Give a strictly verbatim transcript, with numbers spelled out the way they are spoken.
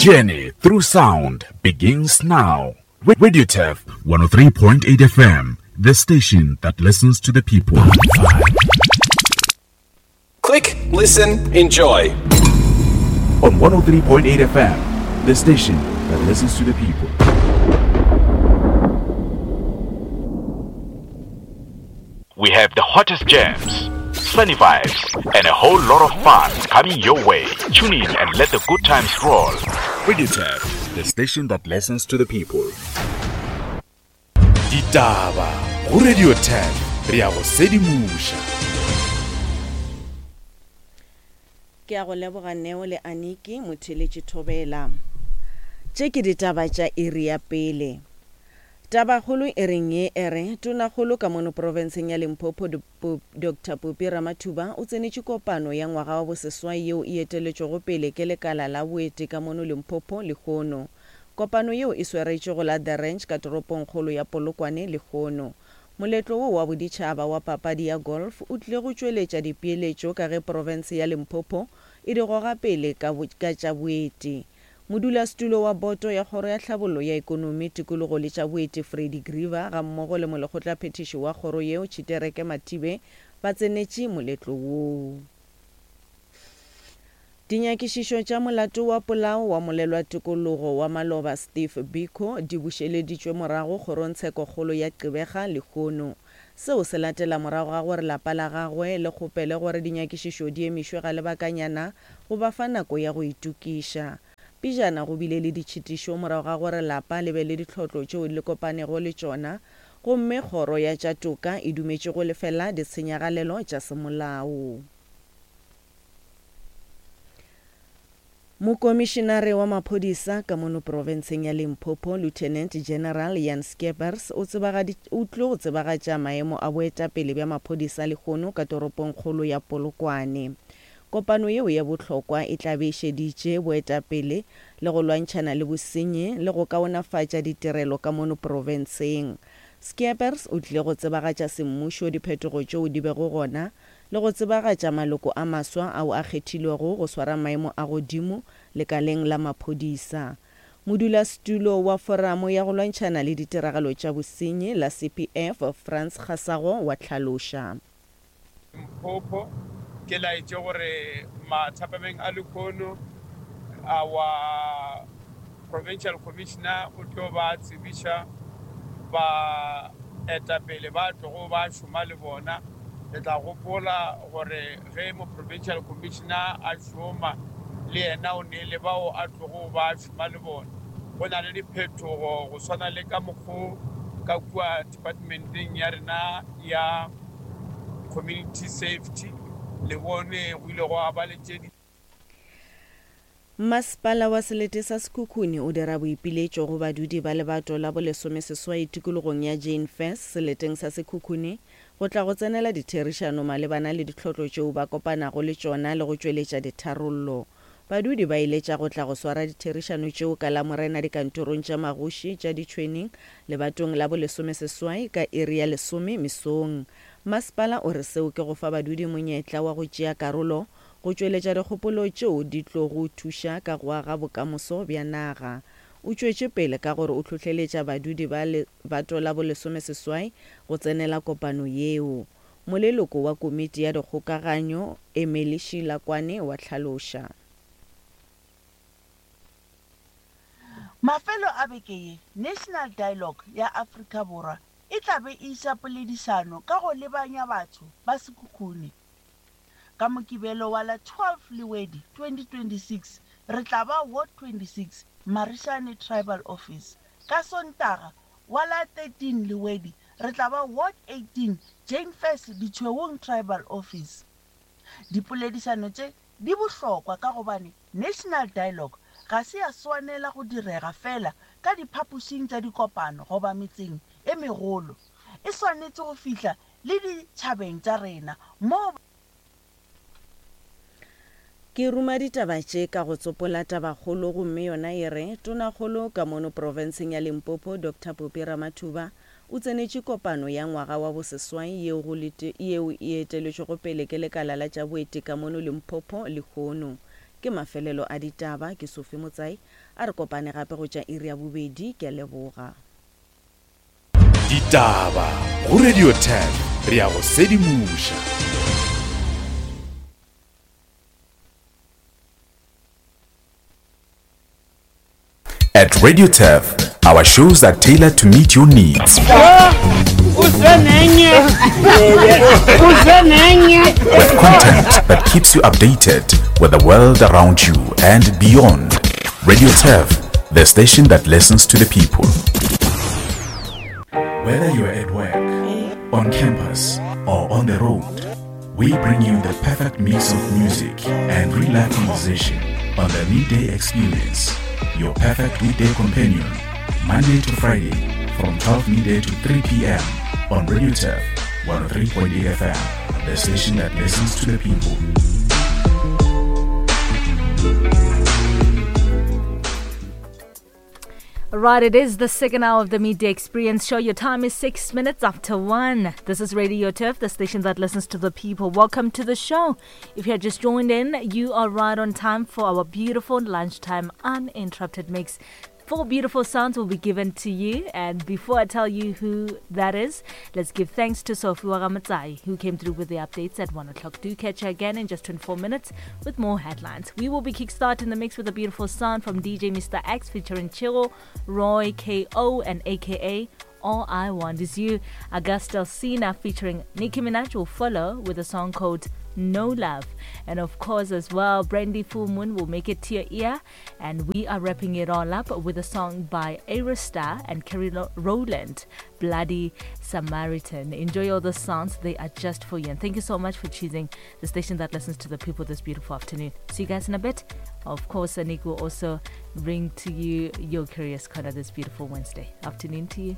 journey through sound begins now. Radio Turf one oh three point eight F M, the station that listens to the people. Click, listen, enjoy. On one oh three point eight F M, the station that listens to the people. We have the hottest jams, sunny vibes, and a whole lot of fun coming your way. Tune in and let the good times roll. Radio Turf, the station that listens to the people. Ditaba go Radio Turf, re a go sedimoša. Ke a go leboga Neo le Aniki motheletši Thobela. Tše ke ditaba tša iri ya pele. Tabakgolo e reng ye e re tonakgolo ka mono profenseng ya Limpopo Doctor Phophi Ramathuba o tsenetše kopano ya ngwaga wa boseswai yeo e eteletšwego pele ke lekala la boeti ka mono Limpopo lehono. Kopano yeo e swaretšwe go la The Ranch ka toropongkgolo ya Polokwane lehono. Moletlo wo wa boditšhaba wa papadi ya golf o tlile go tšweletša dipeeletšo ka ge profense ya Limpopo e di goga pele ka ka tša boeti. Modulasetulo wa boto ya kgoro ya tlhabollo ya ekonomi, tikologo le tša boeti Freddie Griever ga mmogo le molekgotlaphethiši wa kgoro yeo Tshitereke Mathibe ba tsenetše moletlo woo. Dinyakišišo tša molato wa polao wa molelwa tikologo wa maloba Steve Biko di bušeleditšwe morago kgorongtshekokgolo ya Gqeberha lehono. Seo se latela morago ga gore lapa la gagwe le kgopele gore dinyakišišo di emišwe ga lebakanyana go ba fa nako ya go itokiša. Pejana go bile le ditšhitišo morago ga gore lapa le be le ditlhotlo tšeo le kopanego le tšona, gomme kgoro ya tša toka e dumetše go lefela ditshenyagalelo tša semolao. Mokomišinare wa maphodisa ka mono profenseng ya Limpopo, Lieutenant General Jan Skeepers, o o tlo go tsebagatša maemo a boetapele bja maphodisa lehono ka toropongkgolo ya Polokwane. Kopano yeo ya bohlokwa e tla be e šeditše boetapele le go lwantšhana le bosenyi le go kaonafatša ditirelo ka mono profenseng. Skeepers o tlile go tsebagatša semmušo diphetogo tšeo di bego gona le go tsebagatša maloko a maswa ao a kgethilwego go swara maemo a godimo lekaleng la maphodisa. Modulasetulo wa foramo ya go lwantšhana le ditiragalo tša bosenyi la C P F Frans Kgasago wa tlhaloša. Limpopo ke laetše gore mathapameng a lehono our provincial commissioner o tlo ba tsebiša ba etapele ba tlogo ba šoma le bona. Le tla gopola gore ge mo provincial commissioner a šoma le yena o ne le bao a tlogo ba šoma le bona. Go na le diphetogo go swana le ka mokgo ka kua departmenteng ya rena ya community safety le bone go ile gwa ba le tše di. Masepala wa selete sa Sekhukhune o dira boipiletšo go badudi ba lebato la bolesomeseswai tikologong ya Jane Furse seleteng sa Sekhukhune go tla go tsenela ditherišano malebana le ditlhotlo tšeo ba kopanago le tšona le go tšweletša ditharollo. Badudi ba iletša go tla go swara ditherišano tšeo ka Lamorena dikantorong tša magoši tša ditšhwening lebatong la bolesomeseswai ka iri ya lesome mesong. Masepala o re seo ke go fa badudi monyetla wa go tšea karolo go tšweletša dikgopolo tšeo di tlo go thuša ka go aga bokamoso bja naga. O tšwetše pele ka gore o hlohleletša badudi ba lebato la bolesomeseswai go tsenela kopano yeo. Moleloko wa komiti ya dikgokaganyo Emily Shilakwane wa tlhaloša. Mafelo a beke ye, National Dialogue ya Afrika Borwa e tla be e iša poledišano ka go lebanya batho ba Sekhukhune. Ka Mokibelo wa la twelve Lewedi twenty twenty-six re tla ba Ward twenty-six Marishane Tribal Office. Ka Sontaga wa la thirteen Lewedi re tla ba Ward eighteen Jane Furse Ditshweong Tribal Office. Dipoledišano tše di bohlokwa ka gobane National Dialogue ga se ya swanela go direga fela ka diphapošing tša dikopano goba metseng e megolo. E swanetše go fihla le ditšhabeng tša rena moo. Ke ruma ditaba tše ka go tsopola tabakgolo gomme yona e re tonakgolo ka mono profenseng ya Limpopo Doctor Phophi Ramathuba o tsenetše kopano ya ngwaga wa boseswai yeo go yeo e eteletšwego pele ke lekala la tša boeti ka mono Limpopo lehono. Ke mafelelo a ditaba ke Sophie Motsai. A re kopane gape go tša iri ya bobedi. Ke a leboga. Ditaba go Radio ten re ya go sedimoša. At Radio Turf, our shows are tailored to meet your needs. With content that keeps you updated with the world around you and beyond. Radio Turf, the station that listens to the people. Whether you're at work, on campus, or on the road, we bring you the perfect mix of music and real-life conversation on the Midday Experience, your perfect weekday companion, Monday to Friday from twelve midday to three p.m. on Radio Turf one oh three point eight F M, the station that listens to the people. Right, it is the second hour of the Midday Experience show. Your time is six minutes after one. This is Radio Turf, the station that listens to the people. Welcome to the show. If you have just joined in, you are right on time for our beautiful lunchtime uninterrupted mix. Four beautiful sounds will be given to you, and before I tell you who that is, let's give thanks to Sophie Wagamatsai, who came through with the updates at one o'clock. Do catch her again in just twenty-four minutes with more headlines. We will be kickstarting the mix with a beautiful sound from D J Mister X featuring Chiro, Roy K O, and A K A All I Want Is You. Augusta Sina featuring Nicki Minaj will follow with a song called No Love. And of course as well, Brandy Full Moon will make it to your ear. And we are wrapping it all up with a song by Aerostar and Kerry Rowland, Bloody Samaritan. Enjoy all the songs, they are just for you. And thank you so much for choosing the station that listens to the people this beautiful afternoon. See you guys in a bit. Of course, Anik will also bring to you your Curious Corner this beautiful Wednesday afternoon to you.